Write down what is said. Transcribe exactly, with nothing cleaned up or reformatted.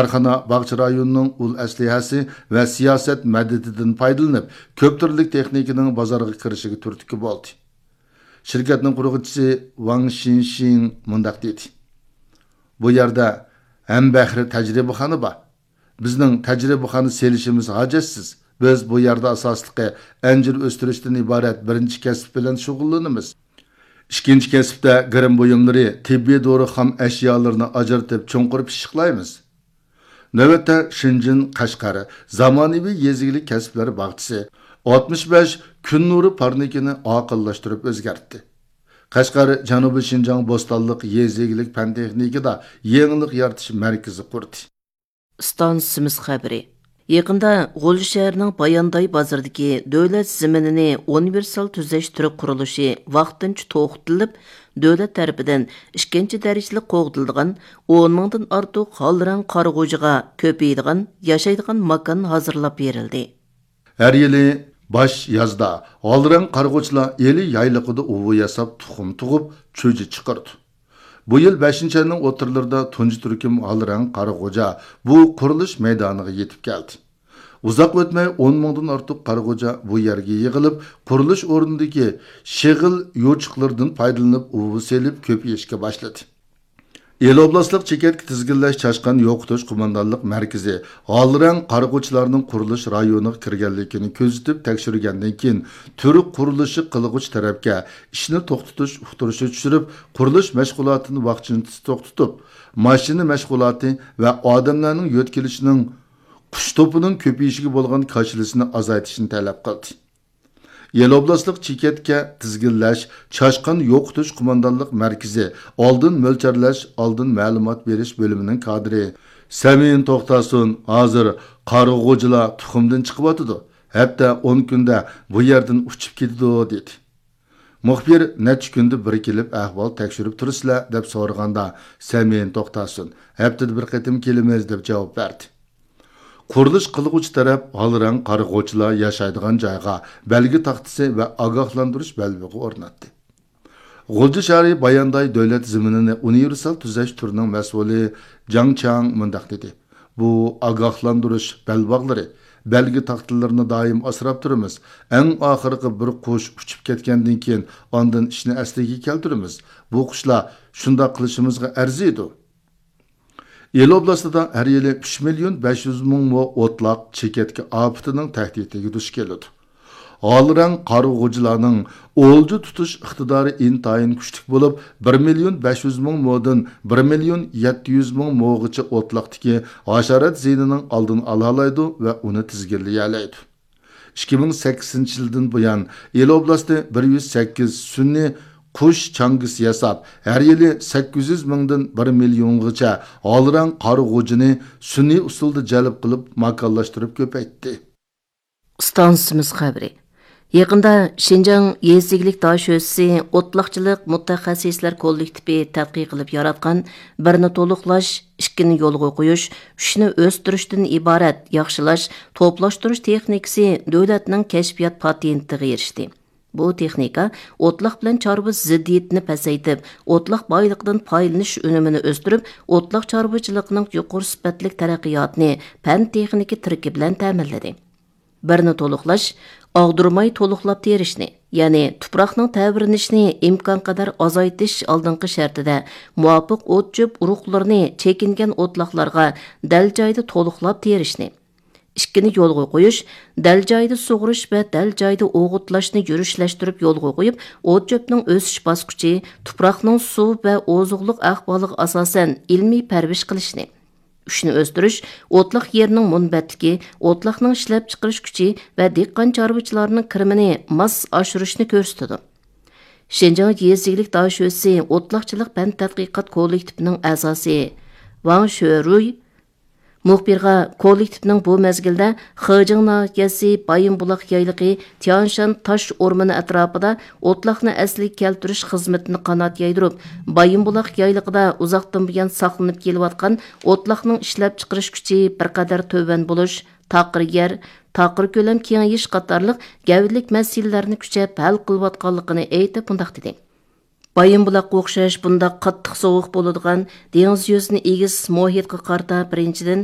كارخانا باغچە رايونىنىڭ ئۇل ئەسلىھەسى ۋە سىياسەت مەدىتىدىن پايدىلىنىپ، كۆپ تۈرلۈك تېخنىكىنىڭ بازارغا كىرىشىگە تۈرتكە بولدى. شىركەتنىڭ قۇرغۇچىسى ۋاڭ شىنشىڭ مۇنداق دېدى: «بۇ يەردە ھەمبەھرە تەجرىبىخانا بار. بىزنىڭ تەجرىبىخانا سېلىشىمىز ھاجەتسىز. بىز بۇ يەردە ئاساسلىقى ئەنجۈر ئۆستۈرۈشتىن ئىبارەت بىرىنچى كەسىپ بىلەن شۇغۇللىنىمىز. ئىككىنچى كەسىپتە گىرىم بۇيۇملىرى، تېببىي دورا خام ئەشيالىرىنى ئاجرىتىپ چوڭقۇر پىششىقلايمىز. نۆۋەتتە شېنجېن قەشقەر زامانىۋى يېزا ئىگىلىك كەسىپلەر باغچىسى ئاتمىش بەش كۈن نۇرى پارنىكىنى ئاقىللاشتۇرۇپ ئۆزگەرتتى. قەشقەر جەنۇبىي شىنجاڭ بوستانلىق يېزا ئىگىلىك پەن تېخنىكىدا يېڭىلىق يارىتىش مەركىزى قۇردى.» ئىستانسىمىز خەۋىرى. يېقىندا غۇلجا شەھىرىنىڭ بايانداي بازىرىدىكى دۆلەت زېمىنىنى ئۇنىۋېرسال تۈزەش تۈرى قۇرۇلۇشى ۋاقتىنچە توختىتىلىپ، دۆلەت تەرىپىدىن ئىككىنچى دەرىجىلىك قوغدىلىدىغان ئون مىڭدىن ئارتۇق ھالرەڭ قارىغۇچىغا كۆپىيىدىغان، ياشايدىغان ماكان ھازىرلاپ بېرىلدى. ھەر يىلى باش يازدا ھالرەڭ قارىغۇچىلار ئىلى يايلىقىدا ئۇۋا ياساپ، تۇخۇم تۇغۇپ، چۈجە چىقىرىدۇ. بۇ يىل بەشىنچى ئاينىڭ ئوتتۇرىلىرىدا تۇنجى تۈركۈم ھالرەڭ قارىغۇچا بۇ قۇرۇلۇش مەيدانىغا يېتىپ كەلدى. ئۇزاق ئۆتمەي ئون مىڭدىن ئارتۇق قارىغۇچا بۇ يەرگە يىغىلىپ، قۇرۇلۇش ئورنىدىكى شېغىل يوچۇقلىرىدىن پايدىلىنىپ ئۇۋا سېلىپ كۆپىيىشكە باشلىدى. ئىلى ئوبلاستلىق چېكەتكە تىزگىنلەش چاشقان يوقىتىش قوماندانلىق مەركىزى ھالرەڭ قارىغۇچىلارنىڭ قۇرۇلۇش رايونىغا كىرگەنلىكىنى كۆزىتىپ تەكشۈرگەندىن كېيىن، تۈر قۇرۇلۇشى قىلغۇچى تەرەپكە ئىشنى توختىتىش ئۇقتۇرۇشى چۈشۈرۈپ، قۇرۇلۇش مەشغۇلاتىنى ۋاقتىنچە توختىتىپ، ماشىنا مەشغۇلاتى ۋە ئادەملەرنىڭ يۆتكىلىشىنىڭ، قۇش توپىنىڭ كۆپىيىشىگە بولغان كاشىلىسىنى ئازايتىشنى تەلەپ قىلدى. ئىلى ئوبلاستلىق چېكەتكە تىزگىنلەش، چاشقان يوقىتىش قوماندانلىق مەركىزى ئالدىن مۆلچەرلەش، ئالدىن مەلۇمات بېرىش بۆلۈمىنىڭ كادىرى سەمىن توختاسۇن ھازىر قارىغۇچىلار تۇخۇمدىن چىقىۋاتىدۇ، ھەپتە ئون كۈندە بۇ يەردىن ئۇچۇپ كېتىدۇ، دېدى. مۇخبىر نەچچە كۈندە بىر كېلىپ ئەھۋال تەكشۈرۈپ تۇرىسىلەر، دەپ سورىغاندا، سەمىن توختاسۇن ھەپتىدە بىر قېتىم كېلىمىز، دەپ جاۋاب بەردى. قۇرۇلۇش قىلغۇچى تەرەپ ھالرەڭ قارىغۇچىلار ياشايدىغان جايغا بەلگە تاختىسى ۋە ئاگاھلاندۇرۇش بەلبېغى ئورناتتى. غۇلجا شەھىرى بايانداي دۆلەت زېمىنىنى ئۇنىۋېرسال تۈزەش تۈرىنىڭ مەسئۇلى جاڭ چياڭ مۇنداق دېدى: «بۇ ئاگاھلاندۇرۇش بەلباغلىرى، بەلگە تاختىلىرىنى دائىم ئاسراپ تۇرىمىز. ئەڭ ئاخىرقى بىر قۇش ئۇچۇپ كەتكەندىن كېيىن، ئاندىن ئىشنى ئەسلىگە كەلتۈرىمىز. بۇ قۇشلار شۇنداق قىلىشىمىزغا ئەرزىيدۇ.» ئىلى ئوبلاستىدا ھەر يىلى ئۈچ مىليون بەش يۈز مىڭ مو ئوتلاق چېكەتكە ئاپىتىنىڭ تەھدىتىگە دۇچ كېلىدۇ. ھالرەڭ قارىغۇچىلارنىڭ ئولجا تۇتۇش ئىقتىدارى ئىنتايىن كۈچلۈك بولۇپ، بىر مىليون بەش يۈز مىڭ مودىن بىر مىليون يەتتە يۈز مىڭ موغىچە ئوتلاقتىكى ھاشارات زىيىنىنىڭ ئالدىنى ئالالايدۇ ۋە ئۇنى تىزگىنلىيەلەيدۇ. ئىككى مىڭ سەككىزىنچى يىلدىن بۇيان، ئىلى ئوبلاستى بىر يۈز سەككىز سۈنئىي قۇش چاڭگىسى ياساپ، ھەر يىلى سەككىز يۈز مىڭدىن بىر مىليونغىچە ھالرەڭ قارىغۇچىنى سۈنئىي ئۇسۇلدا جەلپ قىلىپ، ماكانلاشتۇرۇپ كۆپەيتتى. ئىستانسىمىز خەۋىرى. يېقىندا شىنجاڭ يېزا ئىگىلىك داشۆسىسى ئوتلاقچىلىق مۇتەخەسسىسلەر كوللېكتىپى تەتقىق قىلىپ ياراتقان بىرنى تولۇقلاش، ئىككىنى يولغا قويۇش، ئۈچنى ئۆستۈرۈشتىن ئىبارەت ياخشىلاش، توپلاشتۇرۇش تېخنىكىسى دۆلەتنىڭ كەشپىيات پاتېنتىغا ئېرىشتى. بۇ تېخنىكا ئوتلاق بىلەن چارۋا زىددىيىتىنى پەسەيتىپ، ئوتلاق بايلىقىدىن پايدىلىنىش ئۈنۈمىنى ئۆستۈرۈپ، ئوتلاق چارۋىچىلىقىنىڭ يۇقىرى سۈپەتلىك تەرەققىياتىنى پەن تېخنىكا تىرىكى بىلەن تەمىنلىدى. بىرنى تولۇقلاش، ئاغدۇرماي تولۇقلاپ تېرىشنى، يەنى تۇپراقنىڭ تەۋرىنىشىنى ئىمكانقەدەر ئازايتىش ئالدىنقى شەرتىدە، مۇۋاپىق ئوت-چۆپ ئۇرۇقلىرىنى چېكىنگەن ئوتلاقلارغا دەل جايىدا تولۇقلاپ تېرىشنى، ئىككىنى يولغا قويۇش، دەل جايىدا سۇغىرىش ۋە دەل جايىدا ئوغۇتلاشنى يۈرۈشلەشتۈرۈپ يولغا قويۇپ، ئوت-چۆپنىڭ ئۆسۈش باسقۇچى، تۇپراقنىڭ سۇ ۋە ئوزۇقلۇق ئەھۋالىغا ئاساسەن ئىلمىي پەرۋىش قىلىشنى، ئۈچنى ئۆستۈرۈش، ئوتلاق يېرىنىڭ مۇنبەتلىكى، ئوتلاقنىڭ ئىشلەپچىقىرىش كۈچى ۋە دېھقان چارۋىچىلارنىڭ كىرىمىنى ماس ئاشۇرۇشنى كۆرسىتىدۇ. شىنجاڭ يېزا ئىگىلىك داشۆسىسى ئوتلاقچىلىق پەن تەتقىقات كوللېكتىپىنىڭ ئەزاسى ۋاڭ شۆرۇي مۇخبىرغا كوللېكتىپنىڭ بۇ مەزگىلدە خېجىڭ ناھىيەسى بايىنبۇلاق يايلىقى تيانشان تاش ئورمىنى ئەتراپىدا ئوتلاقنى ئەسلىگە كەلتۈرۈش خىزمىتىنى قانات يايدۇرۇپ، بايىنبۇلاق يايلىقىدا ئۇزاقتىن بۇيان ساقلىنىپ كېلىۋاتقان ئوتلاقنىڭ ئىشلەپچىقىرىش كۈچى بىر قەدەر تۆۋەن بولۇش، تاقىر يەر، تاقىر كۆلەم كېڭىيىش قاتارلىق گەۋدىلىك مەسىلىلەرنى كۈچەپ ھەل قىلىۋاتقانلىقىنى ئېيتىپ، مۇنداق دېدى. بايىنبۇلاققا ئوخشاش بۇنداق قاتتىق سوغۇق بولىدىغان دېڭىز يۈزىدىن ئېگىز مۇھىتقا قارىتا، بىرىنچىدىن،